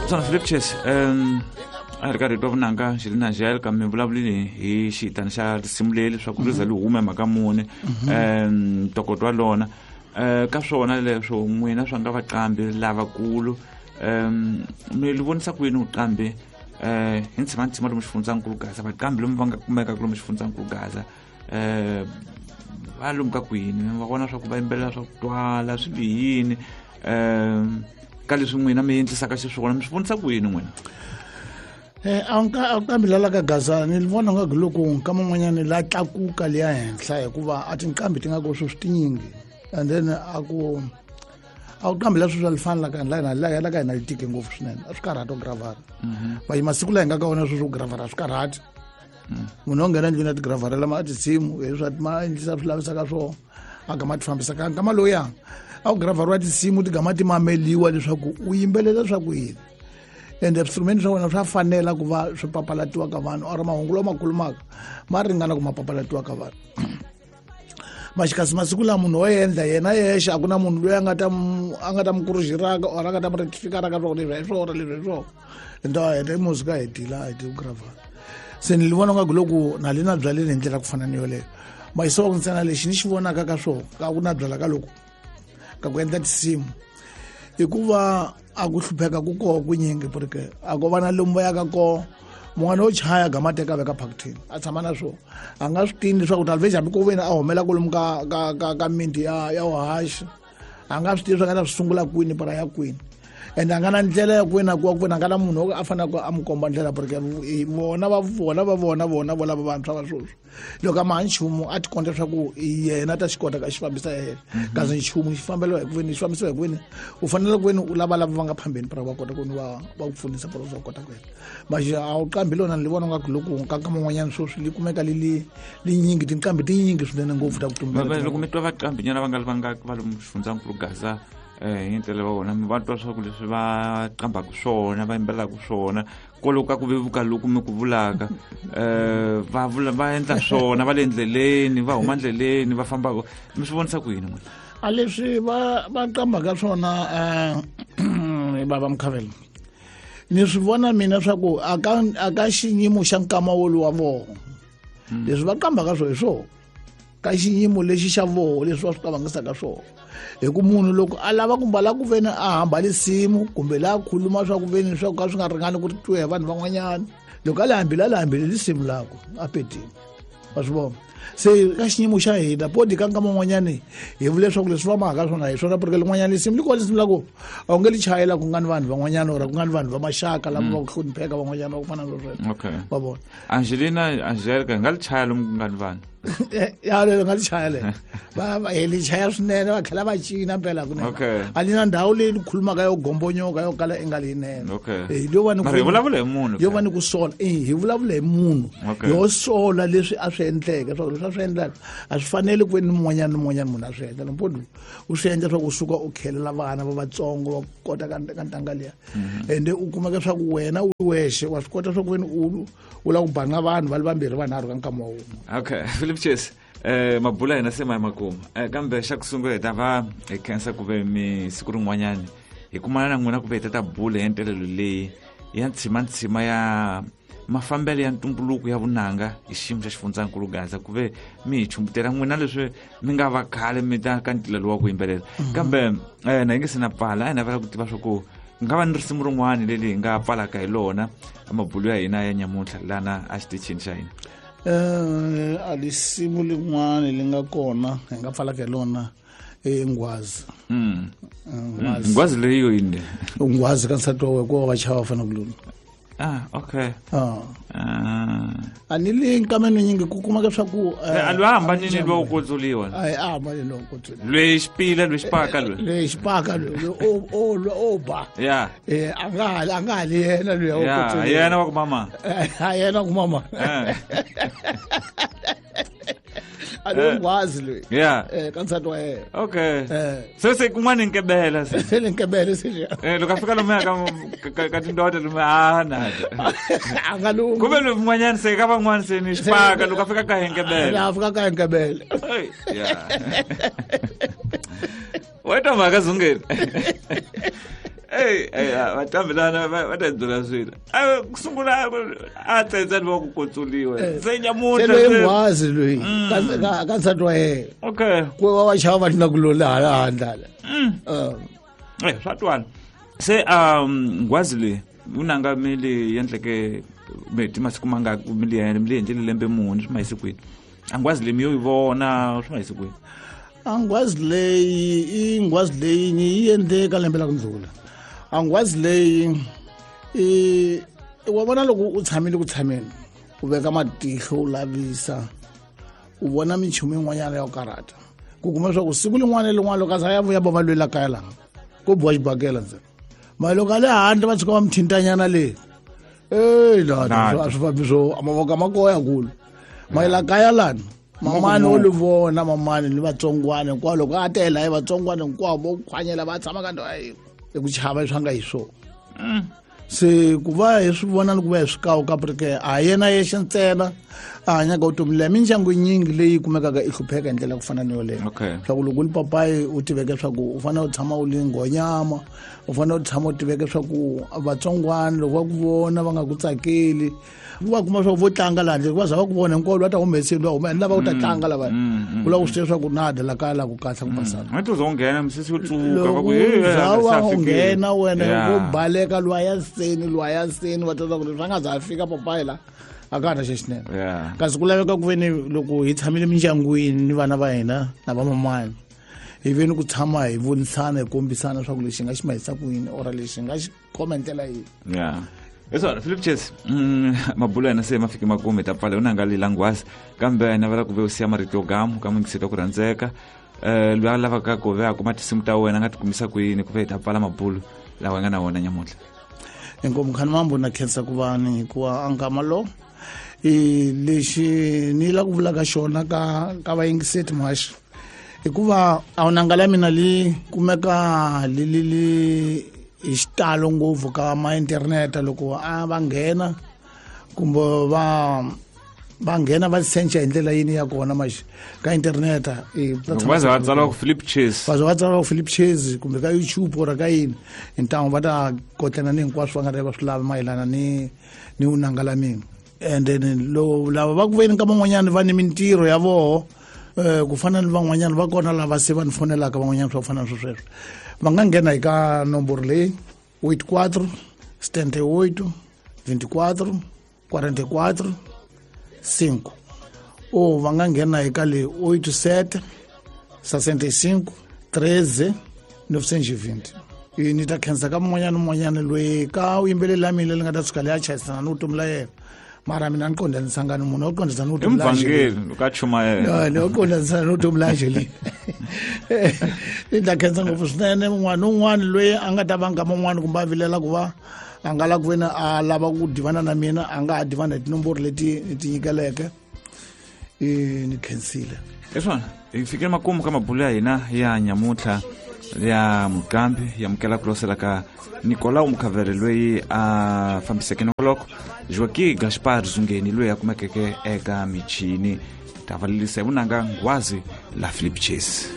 Swona Philip Chase, a ri karhi hi twa vunanga xi ri na gel kambe mi vulavulile hi xitani xa risimu leri leswaku ri za li hume mhaka muni, ntokoto wa lona. Ka swona leswo n'wina swa nga vaqambi lavakulu, mi li vonisa ku yini vuqambi hi ntshima lomu xifundzankulu Gaza, vaqambi lomu va nga kumekaka lomu xifundzankulu Gaza, va lomu ka kwini va vona swa ku va yimbelela swa ku twala swi bihini, ka leswi n'wina mi endlisaka xiswona mi swi vonisa ku yini n'wina? A nqambi la ka Gaza ni vona nga loko nkama un'wanyana la tlakuka liya henhla, hikuva a tinqambi ti nga ko sweswi tinyingi, and then a ku a ku qambi la sweswi a li fani la ka la la la ka hina li tike ngopfu swinene, a swi karhati ku gravara. Va masiku la hi nga ka wona sweswi ku gravara a swi karhati. Munhu o nghena endlwini a ti gravarela ma a tinsimu hi swa ma endlisa swi lavisaka swona, a gama ti fambisa ka nkama lowuya a ku gravariwa tinsimu ti gama ti mameliwa leswaku u yimbelela swa ku yini, ende swiinstrumenti swa wena swa fanela ku va swi papalatiwa ka vanhu, or mahungu lawa ma khulumaka ma ringana ku ma papalatiwa ka vanhu. Maxikasi masiku lawa munhu wo endla yena yexe, a ku na munhu loyi a nga ta a nga ta mu kurujiraka or a nga ta mu rectificaraka swa ku leswi hi swona, leswi hi swona, ende a heta music a hetile, a hete ku gravara. Se ni vona nga ku loko na le na byaleni hi ndlela ku fana ni yoleyo, mayisiwa ku ntsena lexi ni xi vonaka ka swona ka ku na byala ka loko ka ku endla tinsimu, hikuva a ku hlupheka ku koho kunyingi, porque a ko va na lomu va yaka koho. Mun'wana wo chaya gama teka veka phakithini a tshama na swona, a nga swi tivi leswaku talveji hambi ko veni a humela kwalomu ka ka ka ka miti ya vuhaxi, a nga swi tivi swa nga ta swi sungula kwini para ya kwini, ende a nga na ndlela ya kwini a kuwa kwini, a nga na munhu a faneleke a n'wi komba ndlela, porque vona va vona va vona vona vo lava vantshwa va sweswi loko a maha nchumu a ti konta leswaku yena ta xi kota ka xi fambisa yena, kasi nchumu xi fambeliwa hi ku veni xi fambisiwa hi ku veni u fanele ku veni u lava lava va nga phambeni para va kota ku va va ku pfunisa para va kota ku endla. Maxi a wu qambi lona ni vona nga ku loko ka ka man'wanyana sweswi li kumeka li li linyingi tinqambi tinyingi swinene ngopfu ta ku tumbela. Loko mi twa vaqambi nyana va nga va nga va lomu xifundzankulu Gaza, hi ndlela va vona mi va twa swa ku leswi va qambaka swona va yimbelelaka swona kwaloku ka ku vevuka loku mi ku vulaka, va vula va endla swona va le ndleleni va huma ndleleni va fambaka, mi swi vonisa ku yini n'wina? A leswi va va qambaka swona, bava Mukhavela, ni swi vona mina swa ku a ka a ka xiyimo xa nkama woluwa voho leswi va qambaka swo hi swona ka xiyimo lexi xa voho leswi va swi qavangisaka swona, hi ku munhu loko a lava ku mbala ku veni a hamba lisimu kumbe laha khuluma swa ku veni swa ku ka swi nga ringani ku twiwa hi vanhu van'wanyana, loko a le hambile a le hambile lisimu lako a petini wa swi vona. Se ka xiyimo xa hina podi ka nkama un'wanyani hi vule leswaku leswi va mahaka swona hi swona, porque lin'wanyana lisimu li kona lisimu la ku a wu nge li chayela ku nga ni vanhu van'wanyana or ku nga ni vanhu va maxaka lava va ku hlonipheka van'wanyana va ku fana na sweswo. Va vona. Angelina Angelica hi nga li chaya lomu ku nga ni vanhu. Ya lero nga li chaya le va va hi li chaya swinene, va tlhela va cina mpela kunene. A li na ndhawu leyi ni khulumaka yo gombonyoka yo kala i nga leyinene. Yo va ni Mara hi vulavula hi munhu. Yo va ni ku sola, hi vulavula hi munhu. Yo sola leswi a swi endleke, swa ku leswi a swi endlaka a swi fanele ku ve ni mun'wanyana ni mun'wanyana munhu a swi endla mpodi u swi endla swa ku suka u khelela vana va vatsongo va kota ka ka ntanga liya, ende u kumeka swa ku wena u wexe wa swi kota swa ku veni u u lava ku banga vanhu va li vambirhi vanharhu ka nkama wa wun'we. Okay, Philip Chase, mabula hina se ma ya makumu, kambe xa ku sungula hi ta va hi khensa ku ve mi siku rin'wanyani hi kumana na n'wina ku ve hi ta ta bula hi ntelelo leyi ya ntshima ya mafambelo ya ntumbuluko ya vunanga hi xiyimo xa xifundzankulu Gaza, ku ve mi hi chumbutela n'wina leswi mi nga va khale mi ta ka ntila lowu wa ku yimbelela. Kambe na hi nge se na pfala, a hi navela ku tiva swa ku nga va ni risimu rin'wana leri hi nga pfalaka hi lona mabulu ya hina ya nyamuntlha lana a xitichini xa hina. A lisimu lin'wana li nga kona hi nga pfalaka hi lona i nghwazi. Nghwazi. Nghwazi leyi yo yini? Nghwazi ka nsati wa wena ku va chava fana ku lona. Ah, okay. A ni le nkameni nyingi ku kumeka swa ku a lwa hambanile lwa u kutsuliwa. A a hambanile lwa u kutsuliwa. Lwe xipila lwe xipaka lwe. Lwe xipaka lwe o o o ba. A nga ha a nga ha li yena lwe u kutsuliwa. Yena wa ku mama. A yena ku mama. A lo nghwazi loyi. Ka nsati wa yena. Okay. Se se kun'wana nkebela se. Se ni nkebele se. Loko a fika lomuya ka ka tindoda lomu a na. A nga lungi. Kumbe lomu n'wanyana se ka van'wana se ni xipaka loko a fika ka henkebele. La fika ka henkebele. Weta mhaka zungeni. Ey, ey, vatambilana va ta byela swilo. A ku sungula a tsendza ni va ku kotsuliwe. Se nyamuntlha se loyi nghwazi loyi ka nsati wa yena. Okay. Ku va va chava va tlula ku lola hala handle. Eh, swa twala. Se nghwazi leyi u nanga mi li endleke meti masiku manga mi li mi li endlele lembe muni swi ma yise kwini? A nghwazi leyi mi yo yi vona swi ma yise kwini? A nghwazi leyi i nghwazi leyi ni yi endle ka lembe la ku ndlula. A nghwazi leyi i wa vona loko u tshamile ku tshameni u veka matihlo u lavisa u vona minchumu yin'wanyana ya ku karhata ku kuma leswaku siku lin'wana na lin'wana loko a za ya vuya va lwela kaya laha ko biwa xibakela ntsena mara loko a le handle va tshuka va mi thintanyana le ey lana a swi fambi swo mavoko a ma koya kulu mayela kaya lana mamani wo li vona mamani ni vatsongwana hinkwavo loko a tela hi vatsongwana hinkwavo vo khwanyela va tshama ka ndhawu yin'we i ku chava leswi a nga hi swona se ku va hi swi vona ni ku va hi swi kawu ka ke a yena yexe ntsena a hanyaka vutomi leya mindyangu yinyingi leyi kumekaka i hlupheka hi ndlela ya ku fana ni yoleyo swa ku loko u li papayi u tiveke swa ku u fanele u tshama u li nghonyama u fanele u tshama u tiveke swa ku vatsongwana loko va ku vona va nga ku tsakeli va kuma swa ku vo tlanga laha handle va za va ku vona hinkwavo va ta humeseni va huma lava ku ta tlanga lava u lava ku swi tiva swa ku na dya la kaya la ku kahle ku basana a to za u nghena misisi yo tsuka va ku za wa u nghena wena wo baleka lwa ya seni lwa ya seni va ta ku leswi a nga za a fika papayi la a ka ha na xexinene kasi ku laveka ku ve ni loko hi tshamile mindyangwini ni vana va hina na vamamani hi ve ni ku tshama hi vonisana hi kombisana leswaku lexi hi nga xi mahisa ku yini or lexi hi nga xi khoma hi ndlela yihi ya hi swona Philip Chase mabulo ya hina se ma fike makumu hi ta pfala u nanga lila nghwazi kambe navela ku ve u siya marito yo gamu ka muyingiseti wa ku rhandzeka um loyi a lavaka ku ve a kuma tinsimu ta wena a nga ti kumisa ku yini ku ve hi ta pfala mabulo lawa hi nga na wona nyamuntlha inkomu khani mambo na khensa ku va ni hikuva a nkama lo i lexi ni la ku vulaka xona ka ka vayingiseti muhaxi hikuva a wu nanga la mina li kumeka li li li hi xitalo ngopfu ka ma-internet loko a va nghena kumbe va va nghena va sencha hi ndlela yini ya kona maxi ka internet va za va tsala ku Philip Chase va za va tsala ku Philip Chase kumbe ka YouTube or ka yini hi ntangu va ta kotlana ni hinkwaswo va nga ta va swi lava mayelana ni ni vunanga la mina and then lo lava va ku veni ka van'wanyana va ni mintirho ya voho ku fana ni van'wanyana va kona lava se va ni fonelaka van'wanyana swa ku fana na swo sweswo va nga nghena hi ka nomboro leyi 84 78 24 44 5 o va nga nghena hi ka leyi 87 65 13 920 ni ta khensa ka mun'wanyana ni mun'wanyana loyi ka vuyimbeleri la mina leri nga ta tshuka leyi a chayisana ni vutomi la yena mara mina ni qondanisanga ni munhu wo qondisa ni vutomi la Angeline ka chumayela ni wo qondanisa ni vutomi la Angeline ni ta khensa ngopfu swinene un'wana ni un'wana loyi a nga ta va nkama un'wana kumbe a vilela ku va a nga lava ku veni a lava ku divana na mina a nga ha divana hi tinomboro leti ni ti nyikeleke ni khensile hi swona hi fikile makumu ka mabulo ya hina ya nyamuntlha ya muqambi ya mukela ku losela ka Nicolau Mukhavere loyi a fambiseke nongoloko Joaqui Gaspar Zungeni loyi a kumekeke eka michini ta valelisa hi vunanga nghwazi la Philip Chase.